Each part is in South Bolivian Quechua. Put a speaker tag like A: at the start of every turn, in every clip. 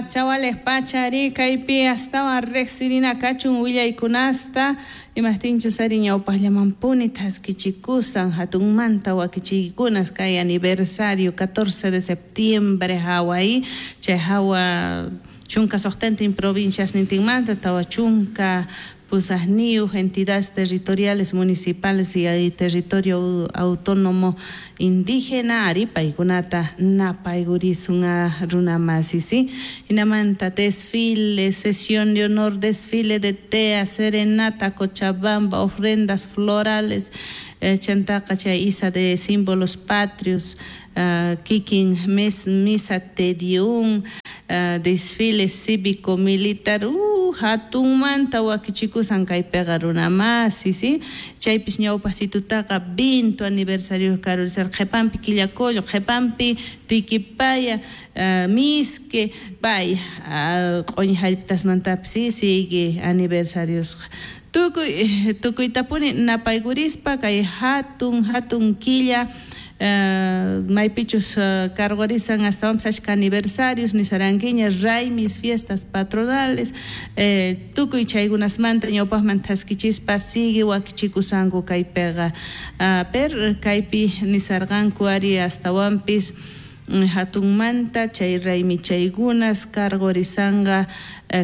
A: Chawales pachari kaypi astawan riqsirina kachun willaykunasta imaqtinchus ari ñawpaqllamanpuni thaskichikusan hatunmanta wakichiykunas kay aniversario 14 de septiembre hawa chay hawa 16 provincias nintinmanta 48 entidades territoriales municipales y territorio autónomo indígena ari paykunata napaygurisun runamasi, ¿sí? Hinamanta desfile, sesión de honor, desfile de tea, serenata, Cochabamba, ofrendas florales, chantaqa chay isa de símbolos patrios, kikin misa Te Deum, desfile cívico militar, hatunmanta wakichikusan kaypiqa runamasi, ¿sí? Chaypis ñawpaqsitutaqa 20 aniversario karurisar qhipanpi Quillacollo, qhipanpi Tiquipaya, Misque, pay q'uñi hallp'atasmantapis, ¿sí? Sigue aniversariosqa. Tukuytapuni napaykurispa kay hatun killa maypichus cargorisan astawanpis achka aniversarios nisarankiña raymis, fiestas patronales, tukuy chaykunasmanta ñawpaqman thaskichispa sigue wakichikusanku kaypiqa. Per kaypi nisarqanku ari astawanpis hatunmanta chay raymi chaykunas cargorisanqa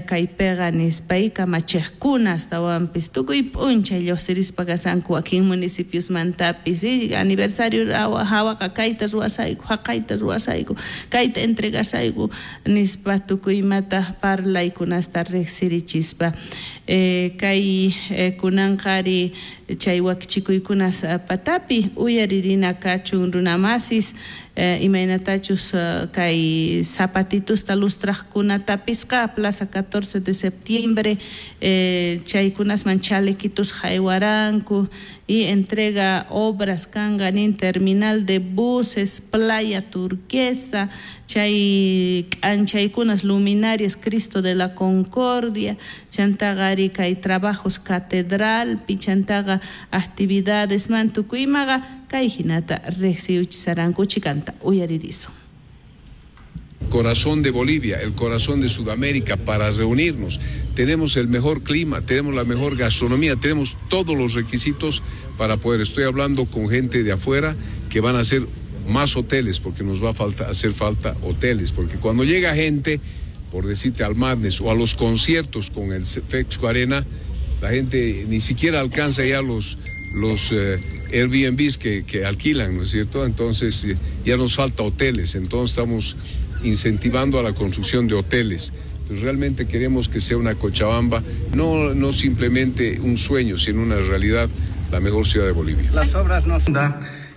A: kaypiqa nispa kamachiqkuna astawanpis tukuy p'unchay lluqsirispa kasanku wakin municipiosmantapis aniversario hawaqa kayta ruwasayku haqayta ruwasayku kayta entregasayku nispa tukuy imata parlaykunasta riqsirichispa kay kunanqa ari chay wakichikuykunas patapi uyaririna kachun runamasis imaynatachus kay zapatitusta lustraqkunatapisqa plaza 14 de septiembre chaykunasman chalequitos haywaranku y entrega obras kanqa nin terminal de buses, playa turquesa, chay k'anchaykunas luminarias Cristo de la Concordia, chantaqa ari kay trabajos catedralpi, chantaqa actividades man tukuymaqa kay hinata riqsiyuchisaranku chikanta uyaririsun.
B: Corazón de Bolivia, el corazón de Sudamérica, para reunirnos. Tenemos el mejor clima, tenemos la mejor gastronomía, tenemos todos los requisitos para poder. Estoy hablando con gente de afuera que van a hacer más hoteles, porque nos va a hacer falta hoteles, porque cuando llega gente, por decirte, al Madness o a los conciertos con el Fexco Arena, la gente ni siquiera alcanza ya los Airbnbs que alquilan, ¿no es cierto? Entonces ya nos falta hoteles, entonces estamos incentivando a la construcción de hoteles. Entonces, realmente queremos que sea una Cochabamba, no simplemente un sueño, sino una realidad, la mejor ciudad de Bolivia.
C: Las obras no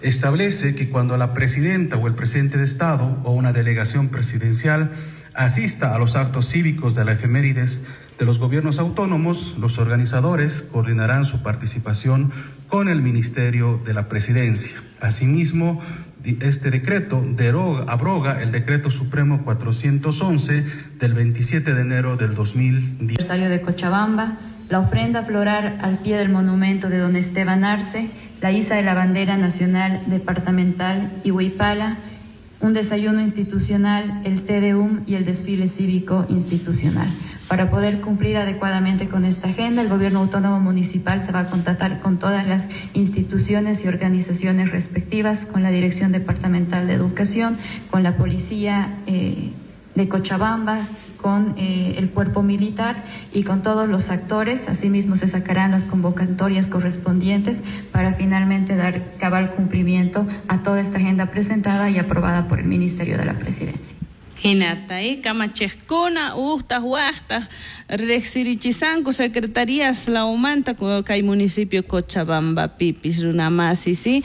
D: establece que cuando la presidenta o el presidente de Estado o una delegación presidencial asista a los actos cívicos de la efemérides de los gobiernos autónomos, los organizadores coordinarán su participación con el Ministerio de la Presidencia. Asimismo, este decreto abroga el Decreto Supremo 411 del 27 de enero del 2010.
E: Aniversario de Cochabamba, la ofrenda floral al pie del monumento de don Esteban Arce, la iza de la bandera nacional departamental y Huipala, un desayuno institucional, el Te Deum y el desfile cívico institucional. Para poder cumplir adecuadamente con esta agenda, el Gobierno Autónomo Municipal se va a contactar con todas las instituciones y organizaciones respectivas, con la Dirección Departamental de Educación, con la Policía de Cochabamba, con el cuerpo militar y con todos los actores. Asimismo, se sacarán las convocatorias correspondientes para finalmente dar cabal cumplimiento a toda esta agenda presentada y aprobada por el Ministerio de la Presidencia.
A: Hinata, kamachiqkuna uqtaq waqtaq riqsirichisanku secretarías lawmanta kay municipio Cochabambapipis runamasi, ¿sí?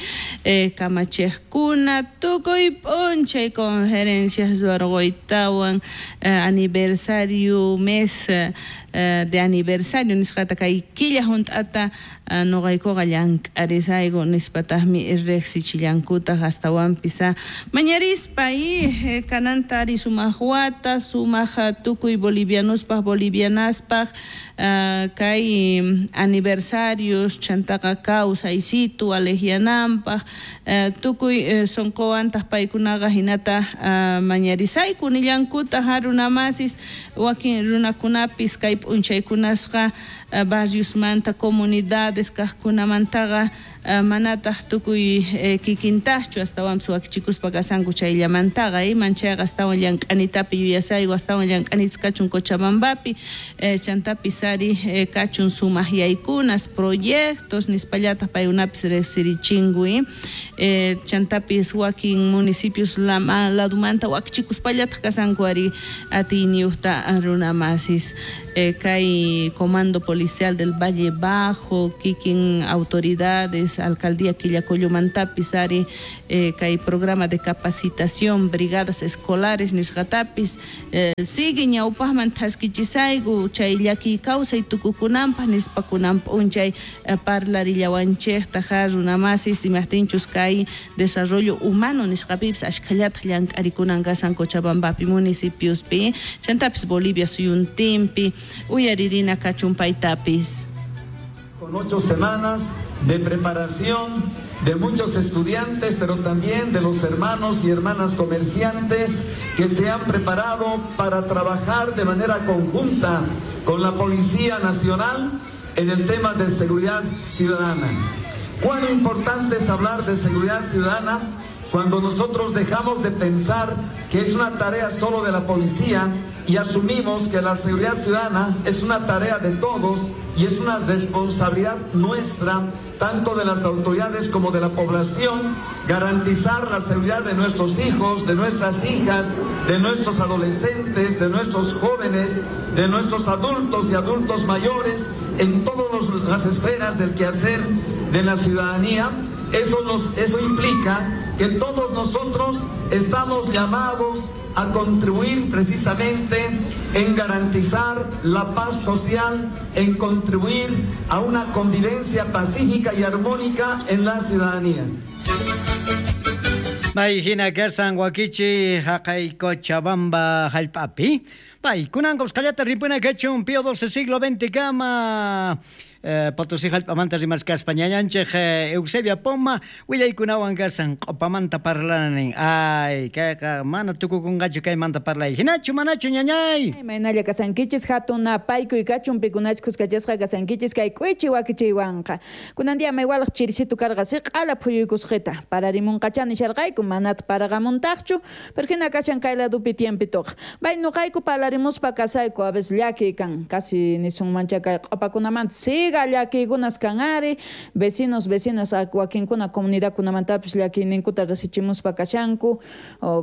A: Kamachiqkuna tukuy p'unchay conferencias ruwarquytawan aniversario mes de aniversario nisqata kay killa hunt'ata nuqaykuqa llank'arisayku nispataqmi riqsichillankutaq astawanpis mañarispa y kananta ari Sumaq wata, sumaq tukuy bolivianospaj, bolivianaspaj, kay aniversarios chantaqa kawsaysitu alejianampaj, tukuy sonqowantaq paykunaqa hinata mañarisayku nillankuta runamasis wakin runakunapis kay p'unchaykunasqa barriosmanta comunidades kaqkunamantaqa manataq tukuy kikintajchu astawanpis wakichikuspa kasanku chayllamantaqa manchayqa astawan llank'anitapi yuyasayku astawan llank'anitas kachun Cochabambapi chantapis ari kachun sumaq yaykunas proyectos nispallataq paykunapis riqsirichinku chantapis wakin municipios ladumanta wakichikuspallataq kasanku ari atiyniyuqta runamasis kay Comando Policial del Valle Bajo kikin autoridades alcaldía Quillacollomantapis ari kay programa de capacitación brigadas escolares nisqatapis sigue ñawpaqman thaskichisayku chay llakiy kawsay tukukunanpaq nispa kunan p'unchay parlarillawanchikta runamasis imaqtinchus kay desarrollo humano nisqapipis ashkhallataq llank'arikunan kasan Cochabambapi municipiospi chantapis Bolivia suyuntinpi uyaririna kachun paytapis.
C: Con 8 semanas de preparación de muchos estudiantes, pero también de los hermanos y hermanas comerciantes que se han preparado para trabajar de manera conjunta con la Policía Nacional en el tema de seguridad ciudadana. Cuán importante es hablar de seguridad ciudadana cuando nosotros dejamos de pensar que es una tarea solo de la policía y asumimos que la seguridad ciudadana es una tarea de todos y es una responsabilidad nuestra, tanto de las autoridades como de la población, garantizar la seguridad de nuestros hijos, de nuestras hijas, de nuestros adolescentes, de nuestros jóvenes, de nuestros adultos y adultos mayores, en todas las esferas del quehacer de la ciudadanía. Eso implica que todos nosotros estamos llamados a contribuir precisamente en garantizar la paz social, en contribuir a una convivencia pacífica y armónica en la ciudadanía.
F: Bay hina kasan wakichi haqay Cochabamba hallp'api. Bay kunan qusqallata ripuna kachun Pío XII siglo XX kama Potosí hallp'amanta rimaskaspa ñañanchik Eusebia Poma willaykunawan kasan q'upamanta parlanin. Ay, kayqa mana tukukunqachu kaymanta parlay. Hinachu manachu ñañay.
G: Imaynalla kasankichis hatun napaykuy kachun pikunachus kuskachasqa kasankichis kay k'uichi wakichiywanqa. Kunan día maywalaq chirisitu karqa siq'ala phuyuykusqita. Pararimunqacha nisharqayku manata paraqamuntaqchu, pero hina kashan kay ladupi tiempitoqa. Bay nuqayku parlarimuspa kasayku a veces llakiy kan, casi nisunmancha kay q'upakunamanta siga llakiykunas kan ari, vecinos, vecinas wakinkuna comunidadkunamantapis llakiyninkuta rasichimuspa kashanku,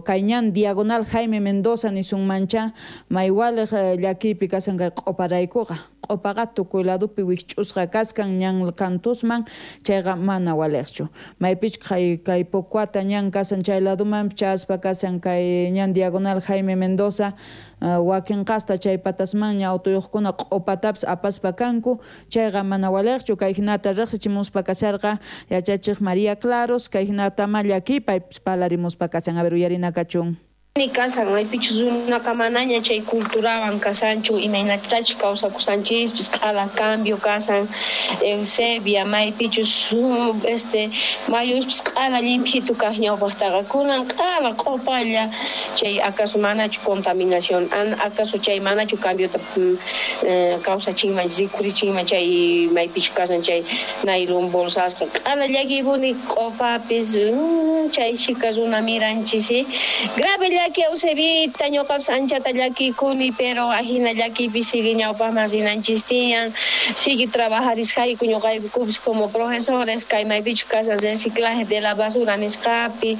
G: kay ñan diagonal Jaime Mendoza nisunmancha maywaliq llakiypi kasan kay q'uparaykuqa. Q'upaqa tukuy ladupi wikch'usqa kaskan ñan kantusman, chayqa mana waliqchu. Maypich kay Pocuata ñan kasan chay laduman chaspa kasan kay ñan diagonal Jaime Mendoza, wakin qasta chay patasmanña autoyuqkuna q'upatapis apaspa kanku, chayqa mana waliqchu. Kay hinata riqsichimuspa kasharqa yachachiq María Claros, kay hinata ma llakiypaypis parlarimuspa kasan. A ver, uyarina kachun.
H: Ni kasan maypichus runaqa manaña chay culturawan kasanchu imaynatachus kawsakusanchispis q'ala cambio kasan Eusebia maypichus mayuspis q'ala llimphitu kaq ñawpaqtaqa kunan q'ala q'upalla chay acaso manachu contaminación acaso chay manachu cambiota kawsachinman rikurichinman chay maypichus kasan chay nailon bolsasqa q'ala llakiypuni q'upapis chay chika runa miranchis grave llaki Eusebita ñuqapis anchata llakikuni pero ajina llakiypi sigue ñawpaqman rinanchis tiyan sigue trabajarisqayku ñuqaykupis como profesores kay maypichus kasan reciclaje de la basura nisqapi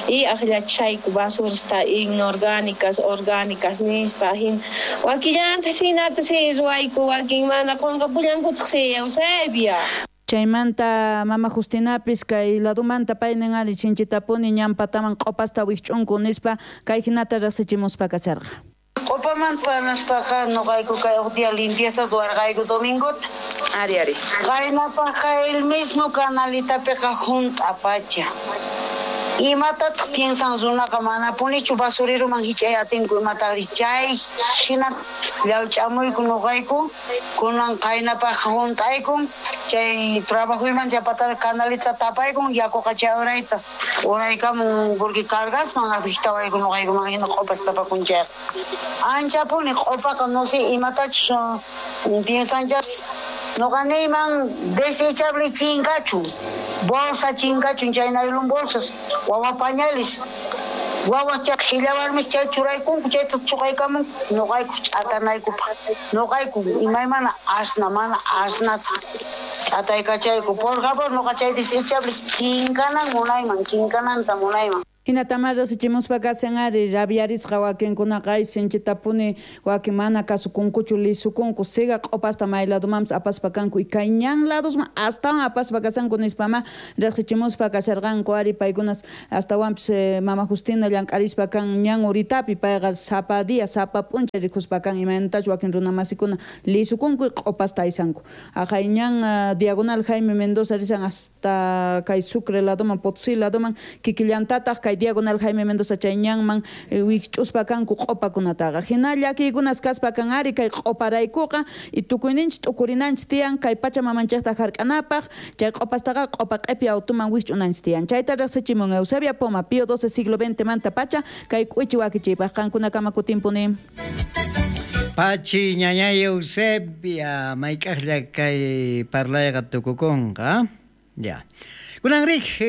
H: y aqllachayku basurasta inorgánicas orgánicas nispa ajina wakillanta hinata si ruwayku wakin mana qunqapullankutaq si Eusebia.
G: Chaymanta mama Justinapis kay ladumanta paynin ari chinchitapuni ñan pataman q'upasta wikch'unku nispa kay hinata riqsichimuspa kasharqa.
I: Q'upamanta parlaspaqa nuqayku kay huk día limpieza ruwarqayku domingota.
G: Ari ari.
I: Qaynapaqqa el mismo canalitapiqa hunt'a pacha. Imatataq piensan runaqa manapunichu basureroman hich'ay atinku imataqri chay hina llawch'amuyku nuqayku kunan qaynapaqqa hunt'aykun chay trabajoyman chapatata canalita tapaykun yakuqa chay urayta uraykamun porque cargasman afectawayku nuqaykuman hina q'upas tapakun chayqa anchapuni q'upaqa no sé imatachus piensanchapis nuqa niyman desechable chinkachun bolsa chinkachun chay naylon bolsas wawa pañales wawa chay qhilla warmis chay churaykunku chayta chuqaykamun nuqayku ch'atanaykupaq nuqayku imaymana asna mana asnata ch'ataykachayku por favor nuqa chay desechable chinkanan munayman chinkananta munayman.
G: Hinatama riqsichimuspa kashan ari rabiarisqa wakinkunaqa ay sinchitapuni wakin mana kasukunkuchu lisukunku siga q'upasta may ladomanpis apaspa kanku y kay ñan ladosman astawan apaspa kashanku nispama riqsichimuspa kasharqanku ari paykunas astawanpis mama Justina llank'arispa kan ñan uritapi payqa sapa día sapa p'unchay rikuspa kan imaynatachu wakin runamasikuna lisukunku y q'upasta aysanku aqhay ñan diagonal Jaime Mendoza rishan hasta kay Sucre ladoman Potosí ladoman kikillantataq kay diagonal Jaime Mendoza chay ñanman wikch'uspa kanku q'upakunataqa hina llakiykunas kaspa kan ari kay q'uparaykuqa y tukuyninchik t'ukurinanchik tiyan kay pachamamanchikta hark'anapaq chay q'upastaqa q'upa q'ipi autuman wikch'unanchik tiyan chayta riqsichimun Eusebia Poma Pío XII siglo XX manta pacha kay k'uichi wakichiypaq qankunakama kutinpuni.
F: Pachi ñañay Eusebia mayk'aqlla kay parlayqa tukukunqa ya. Kunan rij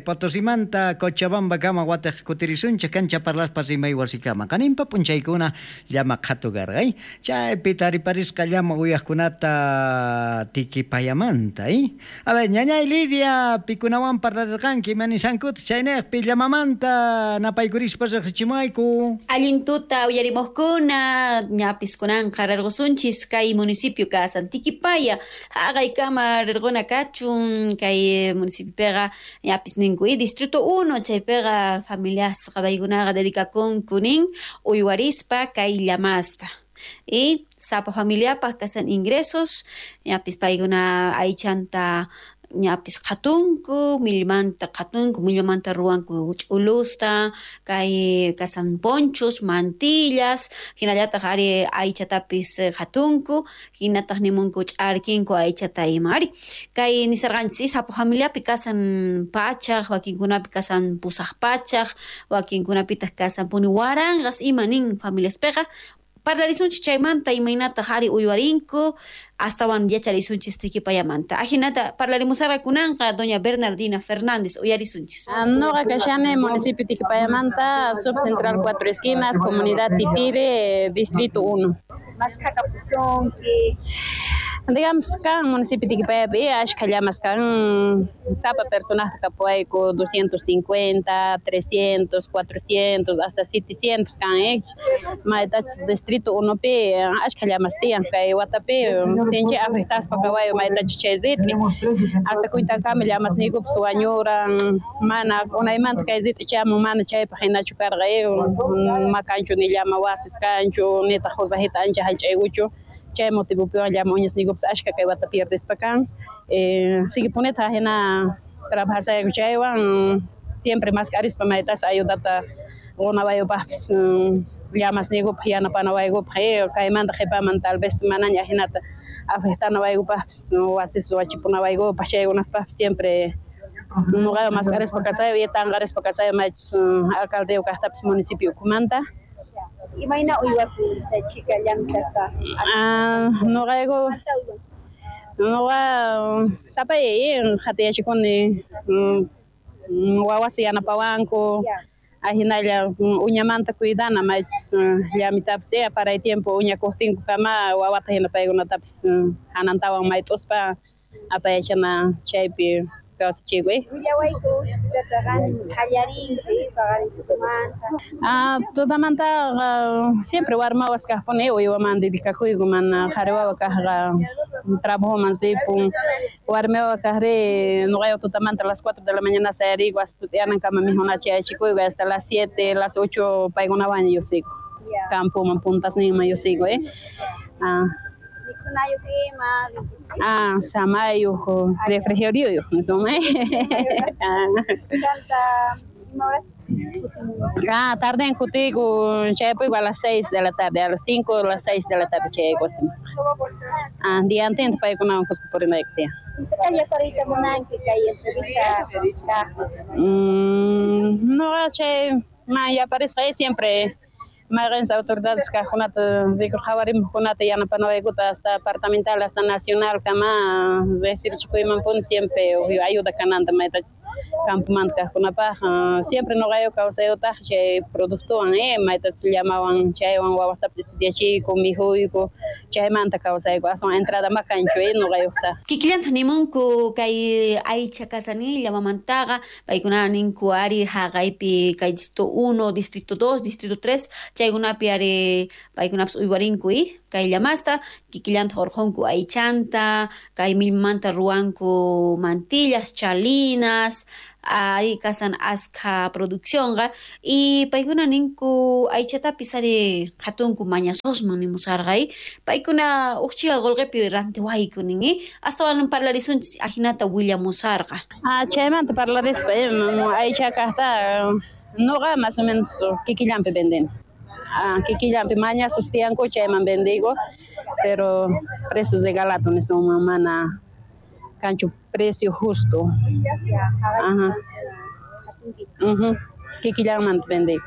F: Potosimanta Cochabamba kama wataq kutirisunchik kancha parlaspa rimay wasikama qaninpa p'unchaykuna llama qhatu karqay chaypi tariparisqa llama uyaqkunata Tiquipayamanta A ver ñañay Lidia pikunawan parlarirqanki imanishankuta chaynejpi llamamanta napaykurispa riqsichimayku.
J: Allin tuta uyarimuqkuna ñapis kunanqa rirqusunchis kay municipio kasan Tiquipaya haqaykama rirquna kachun kay municipio pega ñapis ninku y distrito 1 chaypiqa familiasqa paykunaqa dedicakunku nin uywarispa kay llamasta y sapa familiapaq kasan ingresos ñapis paykuna aychanta ñapis qhatunku millmanta qhatunku millmanta ruwanku ch'ulusta kay kasan ponchos mantillas hinallataq ari aychatapis qhatunku hinataq nimunku ch'arkinku aychata ima ari kay nisarqanchis sapa familiapi kasan pachaq wakinkunapi kasan pusaq pachaq wakinkunapitaq kasan puni waranqas ima nin familiaspiqa parlarisunchis chaymanta imaynataq ari uywarinku astawan yacharisunchis Tiquipayamanta ajinata parlarimusarqa kunanqa doña Bernardina Fernández uyarisunchis.
K: Noqa kashani municipio Tiquipayamanta subcentral Cuatro Esquinas comunidad Titire distrito 1.
L: Maskhakapusunki.
K: Digamos kan municipio Tiquipayapi ashkha llamas kan sapa personaje kapuayku 250, 300, 400 hasta 700 kan maytachus distrito 1 pi ashkha llamas tiyan kay watapi sinchi afectaspa kawayu maytachus chay rit'i hasta kuytankama llamas niykupis wañuran mana unaymanta kay rit'i chamun mana chaypaq hinachu karqa makanchu ni llama wasis kanchu nitaq huk rajita ancha hallch'aykuchu chay motivopiwan llama uñas niykupis ashka kay wata pierdespa kan sigue puneta hina trabajasayku chaywan siempre mask'arispa maytas ayudata qunawayupaqpis llamas niykupaq yanapanawaykupaq kaymanta qhipaman tal vez manaña hinata afectanawaykupaqpis wasis wachipunawaykupaq chaykunaspaqpis siempre nuqaqa mask'arispa kasayu y tanqarispa kasayu maychus alcaldeyuq kaqtapis municipio ukhumanta.
L: Imayna uywakun chay chika llamk'aspa?
K: Nuqayku nuqa sapay qhatiyachikuni wawasi yanapawanku ahinalla uñamanta cuidana maychus llamitapis paray tiempo uñakuqtinku kama wawata hina paykunatapis hanantawan mayt'uspa apayachana chaypi kawsachikuy.
L: Willawayku tutaqa qallarinki paqarinchikumanta.
K: Tutamantaqa siempre warmawas kaqpuni uywaman dedicakuyku mana qhari wawa kaqqa trabajoman ripun warmi wawa kaqri nuqayqa tutamanta a las 4 de la mañana sayariku hasta tut'iyanankama mijunachi aychikuyku hasta las 7, las 8 paykunawan lluqsiyku campoman puntasninman lluqsiyku
L: Mikhunayuq ima rinkichis?
K: Samayuq refrigerioyuq niswan.
L: Chanta
K: Ah, tarde en kutiyku, chayapuyku a las 6 de la tarde, a las 5 o las 6 de la tarde chayayku wasiman. Ah, diantinta paykunawan kuska purinayku tiyan. No, chay man yaparisqa siempre mayqinchis autoridades kaqkunata rikurqawarimuqkunata yanapanawaykuta hasta departamental hasta nacional kama riqsirichikuymanpuni siempre ayuda kananta maytachus campomanta kaqkunapaq siempre noqayku kawsayutaq chay productowan maytachus llamawan chaywan wawastapis estudiachiyku mikhuyku chaymanta kawsayku aswan entrada ma kanchu noqayuqta.
J: Kikillantaq nimunku kay aycha kasani llamamantaqa paykuna ninku ari haqaypi kay distrito 1, distrito 2, distrito 3 chaykunapi ari paykunapas uywarinku kay llamasta kikillantaq urqunku aychanta kay millmanta ruwanku mantillas, chalinas ari kasan askha produccionqa y paykuna ninku aychatapis ari qhatunku mañasosman nimusarqa paykuna uj chika qullqipi rantiwayku nin astawan parlarisunchis ajinata willamusarqa.
K: Ah, chaymanta parlarispa aycha kaqta noqa más o menos kikillanpi vendeni. Ah, kikillanpi mañasos tiyanku chayman vendigo, pero precios de galato nisunman mana kanchu precio justo. Ajá. Kikillanmanta vendigo.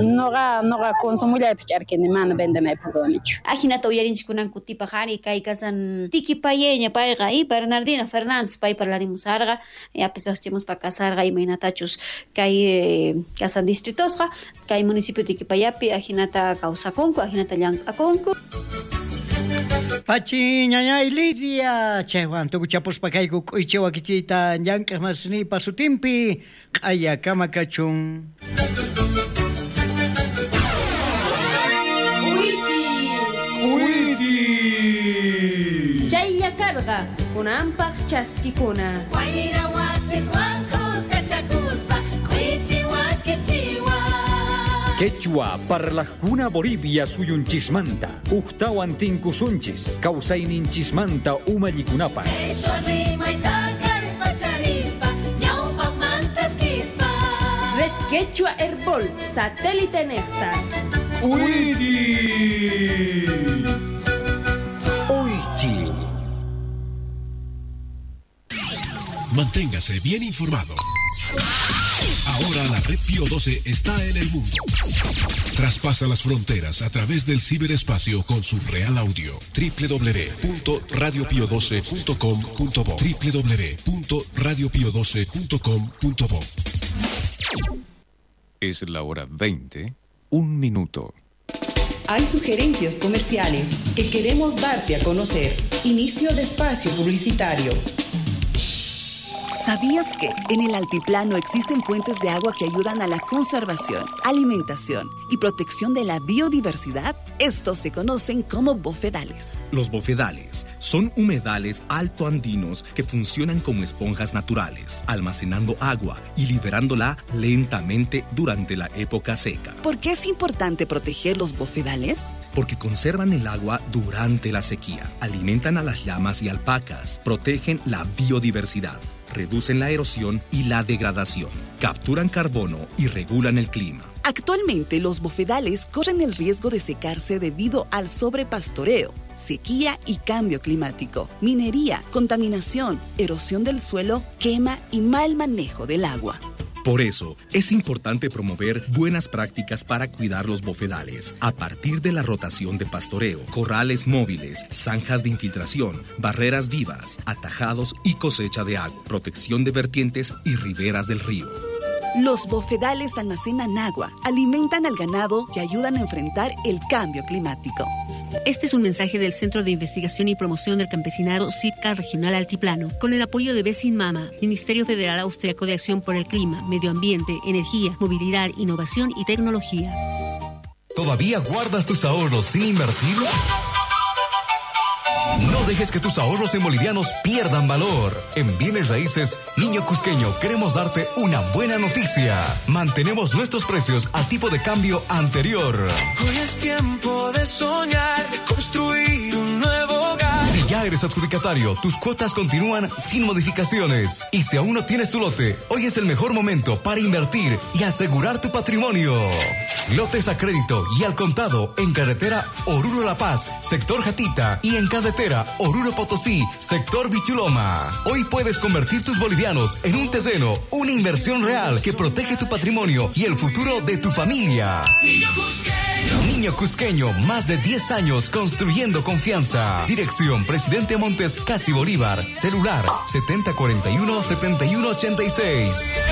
K: Noqa consumullaypi ch'arkini mana vendenaypaq ruwanichu.
J: Ajinata uyarinchik kunan kutipaq ari kay kasan Tiquipayeña payqa Bernardina Fernández pay parlarimusarqa yapis riqsimuspa kasarqa imaynatachus kay kasan distritosqa kay municipio Tiquipayapi ajinata kawsakunku ajinata llank'akunku.
F: Pachi ñañay Lidia chaywan tukuchapuspa kayku k'uychi wakichiyta llank'aq masinipa sutinpi q'aya kama kachun.
A: K'uychi chaylla karqa kunanpaq chaskikuna.
M: Wayra wasiswan kuskachakuspa k'uychi wakichiwan.
N: Quechua parlajkuna Bolivia suyunchismanta ujtawan tinkusunchis kawsayninchismanta umallikunapaq.
A: Red Quechua Herbol satélite nefta.
N: Uichi. Uichi.
O: Manténgase bien informado. Ahora la red Pío 12 está en el mundo. Traspasa las fronteras a través del ciberespacio con su real audio. www.radiopio12.com.bo www.radiopio12.com.bo.
P: Es la hora 20, 1 minuto.
Q: Hay sugerencias comerciales que queremos darte a conocer. Inicio de espacio publicitario.
R: ¿Sabías que en el altiplano existen fuentes de agua que ayudan a la conservación, alimentación y protección de la biodiversidad? Estos se conocen como bofedales.
S: Los bofedales son humedales altoandinos que funcionan como esponjas naturales, almacenando agua y liberándola lentamente durante la época seca.
R: ¿Por qué es importante proteger los bofedales?
S: Porque conservan el agua durante la sequía, alimentan a las llamas y alpacas, protegen la biodiversidad, reducen la erosión y la degradación, capturan carbono y regulan el clima.
R: Actualmente los bofedales corren el riesgo de secarse debido al sobrepastoreo, sequía y cambio climático, minería, contaminación, erosión del suelo, quema y mal manejo del agua.
S: Por eso, es importante promover buenas prácticas para cuidar los bofedales, a partir de la rotación de pastoreo, corrales móviles, zanjas de infiltración, barreras vivas, atajados y cosecha de agua, protección de vertientes y riberas del río.
R: Los bofedales almacenan agua, alimentan al ganado y ayudan a enfrentar el cambio climático.
T: Este es un mensaje del Centro de Investigación y Promoción del Campesinado CIPCA Regional Altiplano, con el apoyo de Besin Mama, Ministerio Federal Austriaco de Acción por el Clima, Medio Ambiente, Energía, Movilidad, Innovación y Tecnología.
U: ¿Todavía guardas tus ahorros sin invertir? No dejes que tus ahorros en bolivianos pierdan valor. En Bienes Raíces, Niño Cusqueño, queremos darte una buena noticia. Mantenemos nuestros precios a tipo de cambio anterior.
V: Hoy es tiempo de soñar, de construir un nuevo hogar.
U: Si ya ya eres adjudicatario, tus cuotas continúan sin modificaciones. Y si aún no tienes tu lote, hoy es el mejor momento para invertir y asegurar tu patrimonio. Lotes a crédito y al contado en carretera Oruro La Paz, sector Jatita, y en carretera Oruro Potosí, sector Bichuloma. Hoy puedes convertir tus bolivianos en un terreno, una inversión real que protege tu patrimonio y el futuro de tu familia. Niño Cusqueño, más de 10 años construyendo confianza. Dirección Presidente Montes, Casi Bolívar. Celular 7041-7186.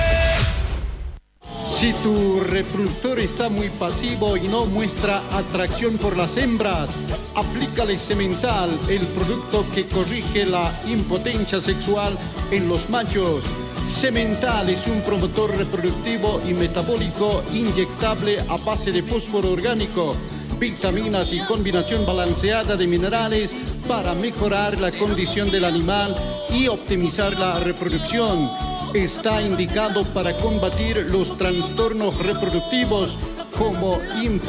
B: Si tu reproductor está muy pasivo y no muestra atracción por las hembras, aplícale Semental, el producto que corrige la impotencia sexual en los machos. Semental es un promotor reproductivo y metabólico inyectable a base de fósforo orgánico, vitaminas y combinación balanceada de minerales para mejorar la condición del animal y optimizar la reproducción. Está indicado para combatir los trastornos reproductivos como infertilidad.